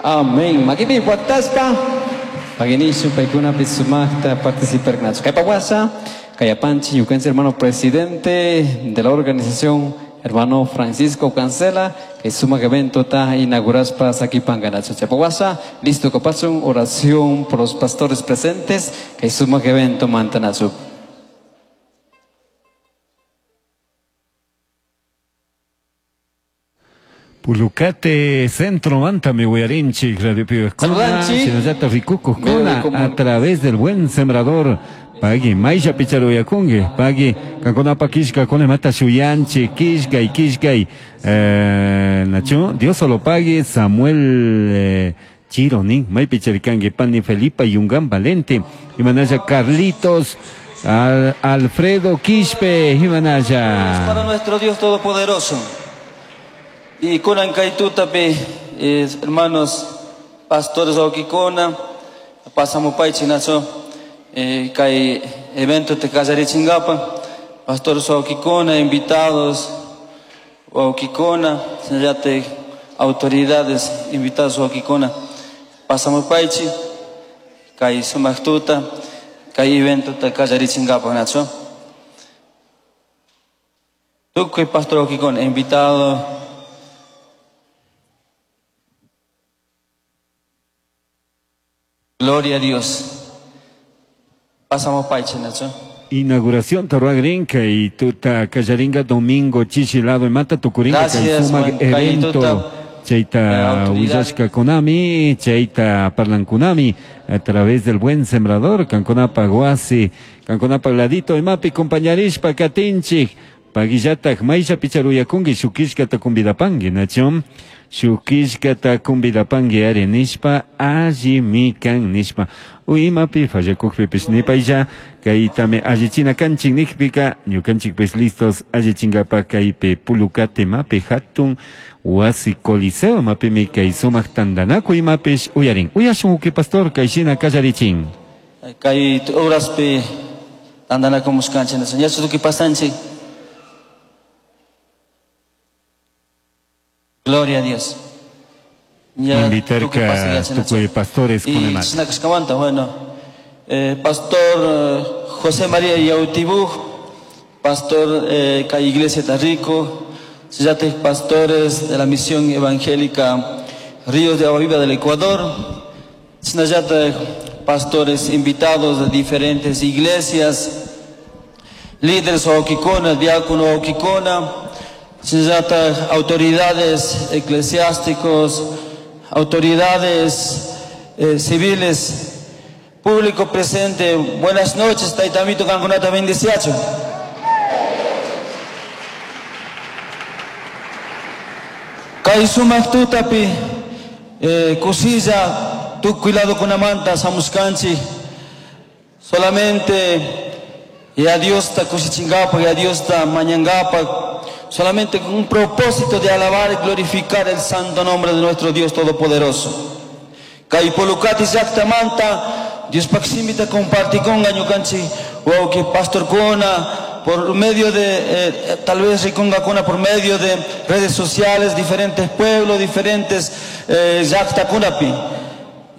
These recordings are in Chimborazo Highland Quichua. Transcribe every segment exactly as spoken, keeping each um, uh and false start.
Amén. Makipi wataspa paginishu paykunapi sumaqta participarnachu. Kay pawasa Kayapanchi ñukanchik hermano presidente de la organización hermano Francisco Cancela kay sumaq evento ta inauguraspa sakipanganachu. Chaypawasa listo kapachun oración por los pastores presentes kay sumaq evento mantanachu. Pulucate Centro Manta mi huyarinchi Radio Pibe Saludanchi Rikuku a través del buen sembrador Pagui Maisha Picharuyakungi Pagui Kankonapa Kishka Konemata Shuyanchi Kishkay Kishkay eh, Nacho Dios solo pague Samuel eh, Chironi May Picharikangi Pani Felipa Yungan Valente Imanaya Carlitos Al, Alfredo Quispe Imanaya para nuestro Dios Todopoderoso. Y kunan kay tutapi, eh, hermanos pastores Okikona, pasamos paichi nacho, eh, kay evento te chingapa, pastores Okikona, invitados Okikona, te autoridades invitados Okikona, pasamos paichi, kay sumaq tuta, kay evento te chingapa nacho. Tukuy pastor Okikona, invitado. Gloria a Dios. Pasamos paiche, Nacho. Inauguración Torruagrinca y tuta Callaringa domingo chichilado y mata tucuringa Gracias, evento Chaita Huillashka Konami, Chaita Parlankunami, a través del buen sembrador, Canconapa Guasi, Canconapa Ladito y Mapi, compañarishpa Katinchik, Paguillatak, Maisha Picharuyakungi, Shukishka Takumbidapangi, Nachón. Shukishkata kumbidapangi ari nishpa alli mikan nishpa uimapi fallakukpipis nipaylla kaytami allichina kanchik nikpika ñukanchikpis listos allichinkapa kaypi Pulucate mapi hatun wasi coliseo mapimi kay sumaq tantanakuy imapish uyarin uyashun uki pastor kayshina kallarichin kay horaspi tantanakumuskanchik yachu tukuy pasanchik. Gloria a Dios. Invitar a tukuy pastores y bueno, eh, pastor eh, José María Yautibuj, pastor eh, kay Iglesia Tarrico, pastores de la misión evangélica Ríos de Agua Viva del Ecuador, pastores invitados de diferentes iglesias, líderes Okikona, diácono Okikona, autoridades eclesiásticos, autoridades eh, civiles, público presente, buenas noches, Taitamito Canconata veintiocho. Kai sumaq tutapi, eh, kusilla, tukuy lado kunamanta, samuskanchi, solamente y a Dios ta kusichingapa, y a Dios ta mañangapa, solamente con un propósito de alabar y glorificar el santo nombre de nuestro Dios Todopoderoso. Kay Pulucati llaqtamanta Dios paksimita compartikun ñukanchik wawqi pastor kuna por medio de eh, tal vez rikunga kuna por medio de redes sociales, diferentes pueblos, diferentes eh, llaqtakunapi.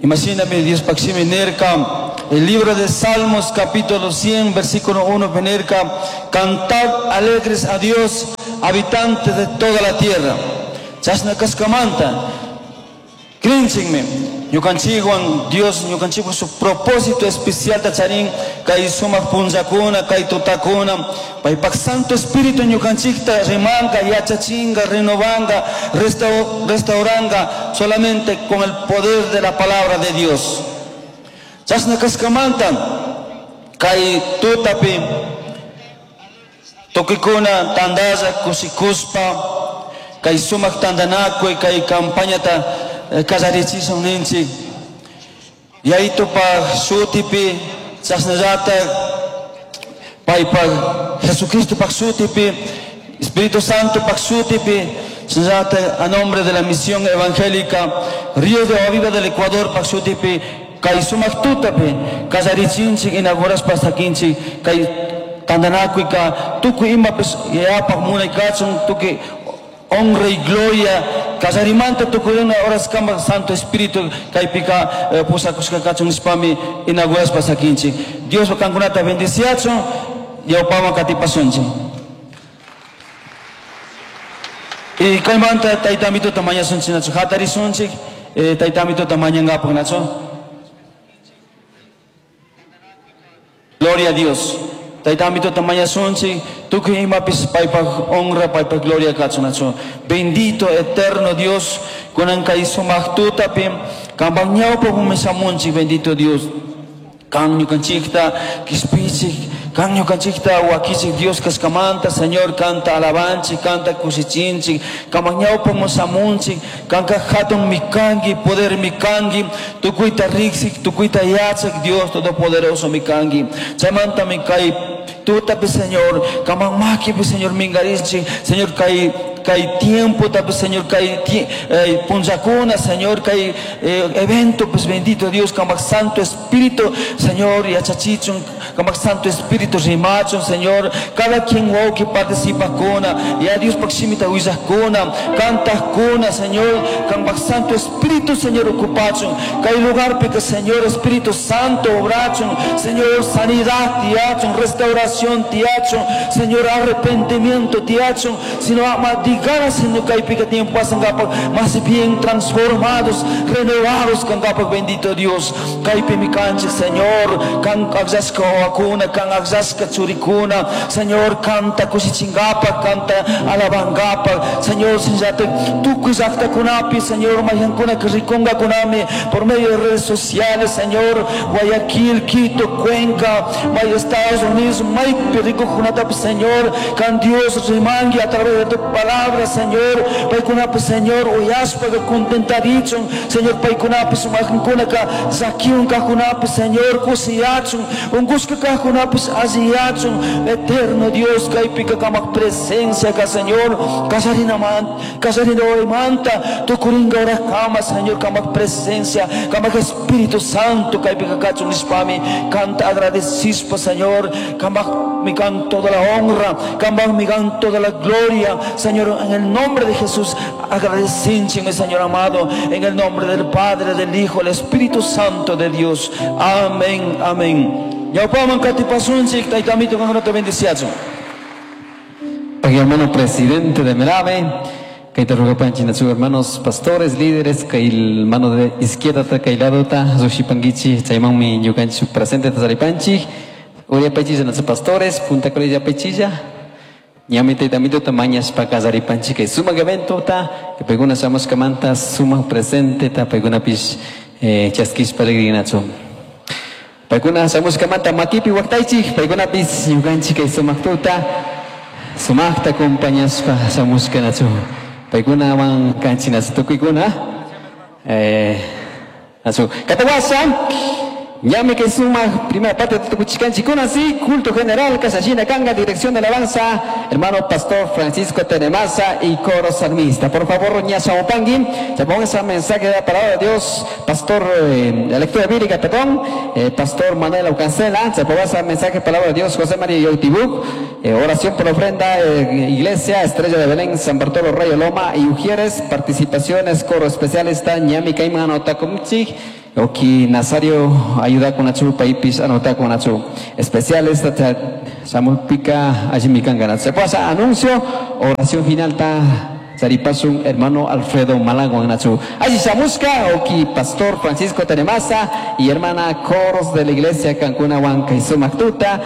Imagíname Dios paksimi nirka el libro de Salmos capítulo cien versículo uno nirka cantad alegres a Dios habitantes de toda la tierra. Chasna kaskamanta Krinchinme, ñukanchikwan Dios ñukanchikwan su propósito especial tacharin kay sumaq punllakuna kay tutakuna paypak Santo Espíritu ñukanchikta rimanka yachachinga renovanga restauranga solamente con el poder de la palabra de Dios. Chasna kaskamanta kay tutapi tukikuna tandalla kusikuspa kay sumaq tandanakuy kay campañata kallarichisun ninchik Yaytupaq shutipi chasnallata paypaq Jesucristopaq shutipi Espíritu Santo paq shutipi chasnallata a nombre de la misión evangélica Río de Agua Viva del Ecuador paq shutipi kay sumaq tutapi kallarichinchik inauguraspa sakinchik kay tandanakuyka tukuy imapis yapaq munaykachun tukuy Honra y gloria kallarimanta tukurina horas kama Santo Espíritu kaypika eh, pusakushka kachun nishpami inaugurashpa sakinchik. Dios kankunata bendiciachun ñawpaman katipasunchik. Y kaymanta taytamituta mañasunchik nachu hatarisunchik eh, taytamituta mañankapak nachu. Gloria a Dios. Taytamituta mañasunchik tukuy imapis paypaj honra paypaj gloria kachun nachu. Bendito eterno Dios kunan kay sumaq tutapi kanpak ñawpa humisamunchik bendito Dios. Kan ñukanchikta kishpichik kan ñukanchikta wakichik Dios kaskamanta Señor kanta alabanchik kanta kushichinchik kamak ñawpa musamunchik kanka hatun mikanki poder mikanki tukuyta riksik tukuyta yachak Dios todopoderoso mikanki chaymanta mikay tutapi Señor kamak makipi Señor mingarinchik Señor kay kay tiempo tapi Señor kay eh, punllakuna Señor kay eh, evento pues bendito Dios kamak Santo Espíritu Señor yachachichun kamak Santo Espíritu rimachun Señor cada quien wawki participa kuna ya Dios pakshimita willakuna kantakuna Señor kamak Santo Espíritu Señor ocupachun kay lugar pika Señor Espíritu Santo obrachun Señor sanidad tiachun restauración tiachun Señor arrepentimiento tiachun sino ama diganas Señor kaypika tiempo pasankapak más bien transformados renovados kankapak bendito Dios kaypi mikanchik Señor kan akllashka wawakuna kan akllashka churikuna Señor kanta kushichinkapak kanta alabankapak Señor shinllatak tukuy llaqtakunapi Señor mayqankuna rikunkakunami por medio de redes sociales Señor Guayaquil, Quito, Cuenca, may Estados Unidos maypi rikuqkunatapi Señor kan Dios rimanki a través de tu palabra Señor paykunapi Señor uyashpa contentarichun Señor paykunapi sumaqkunaka llakiwan kaqkunapi Señor kusiyachun unqushka kaqkunapi alliyachun eterno Dios kaypika kamak presencia ka Señor kallarinaman kallarinawaymanta tukurinka horaskama Señor kamak presencia kamak Espíritu Santo kaypika kachun nishpami kanta agradecishpa Señor kamak mikan toda la honra kamak mikan toda la gloria Señor en el nombre de Jesús agradecemos Señor amado en el nombre del Padre, del Hijo, del Espíritu Santo de Dios. Amén, amén. Ñawpaman katipasunchik taytamito kankunata bendiciachun. Hermano presidente de Melave, kayta rugapanchik nachu hermanos pastores, líderes, kay mano de izquierda ta kay lado ta sushipankichik chaymanmi ñukanchik presente tasaripanchik uriyapaychilla nachu pastores punta paychilla ñami taytamito ta mañashpa kallaripanchik kay sumak evento ta paykuna shamushkamanta sumak presente ta paykunapish eh, chaskishpa rigrinachu paykuna shamushkamanta makipi waqtaychik paykunapis ñukanchik kay sumak tuta sumakta acompañashpa shamushkanachu paykunawan kanchik nachu tukuykuna eh, nachu katawasha ñami kay sumak primera parte de tukuchikanchikuna sí culto general Casallina Kanga dirección de alabanza hermano pastor Francisco Tenemasa y coro salmista. Por favor ña shamupanki chapongan ese mensaje de la palabra de Dios pastor eh, la lectura bíblica perdón eh, pastor Manuel Aucancela chapongan ese mensaje de palabra de Dios José María Yautibuk eh, oración por ofrenda eh, iglesia Estrella de Belén San Bartolo Rayo Loma y Ujieres participaciones coro especial está ñami kayman anotakumchik Oki Nazario ayuda con achu paipis anota con achu especial esta samulpika allimikan se pasa anuncio oración final ta Saripasun hermano Alfredo Malaguan nachu allí samuska oki pastor Francisco Tenemasa y hermana coros de la iglesia Cancuna Huanca y Sumactuta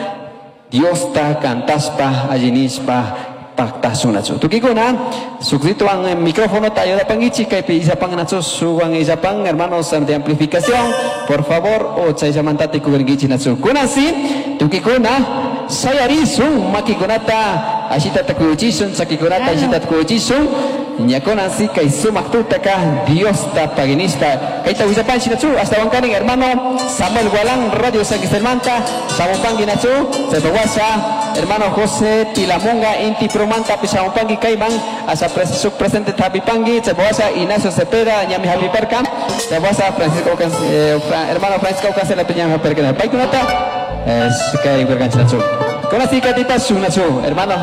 Dios ta cantaspa allinispa pactasunachu tukikuna sukrituan en micrófono ta ayuda pangichi kaypi illapan nachu suwan illapan hermanos de amplificación por favor o chayllamantati kurinkichi nachu kunasi tukikuna sayarisun makikunata ashita takuyuchisun chakikunata ashita takuyuchisun ñakunasi kay sumaq tutaka Diosta paginista kayta willapanchi nachu hasta wankanin hermano Samuel Gualán Radio San Cristóbal Samupangi nachu Chaypawasha hermano José Tilamunga Inti Promanta Pisamupangi kayman hasta pres presente Tapipangi Chaypawasha Ignacio Cepeda ñami Javiperca Chaypawasha Francisco eh, Fra, hermano Francisco Cancela Peña Javiperca paykunata es kay werkanchi nachu kunasi katipasun nachu hermano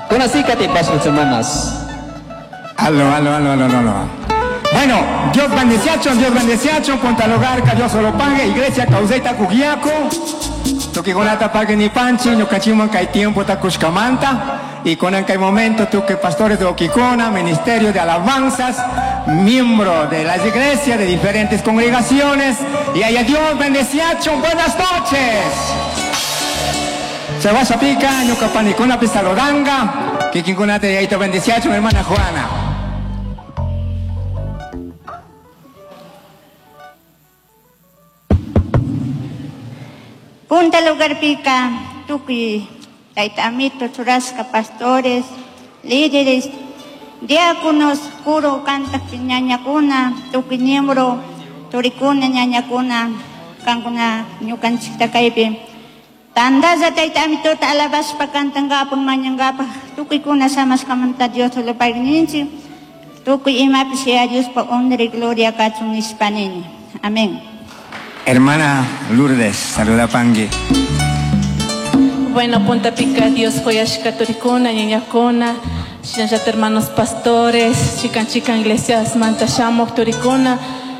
kunasi katipasun hermanas. Aló, aló, aló, aló, aló. Bueno, Dios bendeciacho, Dios bendeciacho, punta al hogar, que Dios solo pague, iglesia causeta cugiaco. Tukikunata pague ni panchi, ñukanchikman kay tiempo ta kushkamanta. Y con en momento tú que pastores de Oquicona, ministerio de alabanzas, miembro de las iglesias de diferentes congregaciones. Y allá Dios bendeciacho, buenas noches. Se va a pica, ñuka panikuna pisalodanga, kikinkunata yaito bendeciacho, mi hermana Juana. Punta lugar pica, tuki, taitamito, churasca, pastores, líderes, diáconos, curo, canta, ñañacuna, tuki miembro, turicuna, ñañacuna, cancuna, ñukanchikta kaypi. Tandaza taitamito, alabaspa, cantangapa, mañangapa, tukikuna, samaskamanta, Dios lo pagninchi, tuki imapi sea Dios pa honra y gloria kachun hispanini. Amén. Hermana Lourdes, saluda Pangui. Bueno, Punta Pica, Dios Joyashka Turicuna, Ñañacuna, Shinayata hermanos pastores, chican chican iglesias, Manta Shamok Turicuna,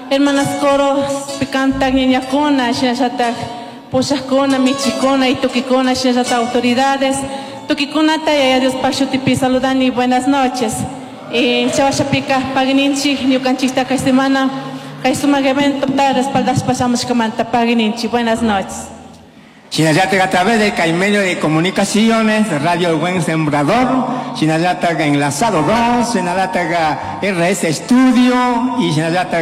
hermanas coros, Picanta, Ñañacuna, Shinayata Pushacuna, Michicuna y Tuquicuna, Shinayata autoridades, Tuquicuna, Taya, Dios Pachutipi, saludan y buenas noches. Y Chavashapica, Pagninchi, Ñucanchista, semana. Respaldas pasamos Pagninchi. Buenas noches. Shinayata a través del medio de comunicaciones, Radio El Buen Sembrador, Shinayata Enlazado dos, Shinayata R S Studio y Shinayata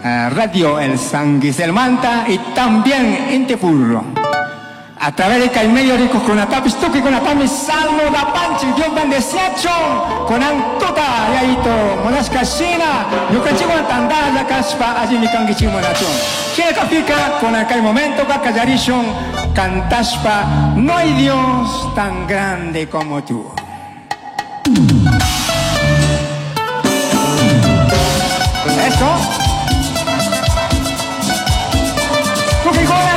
uh, Radio El San Guiselmanta y también Intepurro. A través del medio de Conatapis, Tuki Conatami, Salmo da Panchi, Dios bendeciacho, con Antuta, Yaito, Monasca Shina, Yucachigo Tandaya, Caspa, allí mi canguichimonacho. Chile con aquel momento, Bacallarishon, Cantaspa, no hay Dios tan grande como tú. Eso.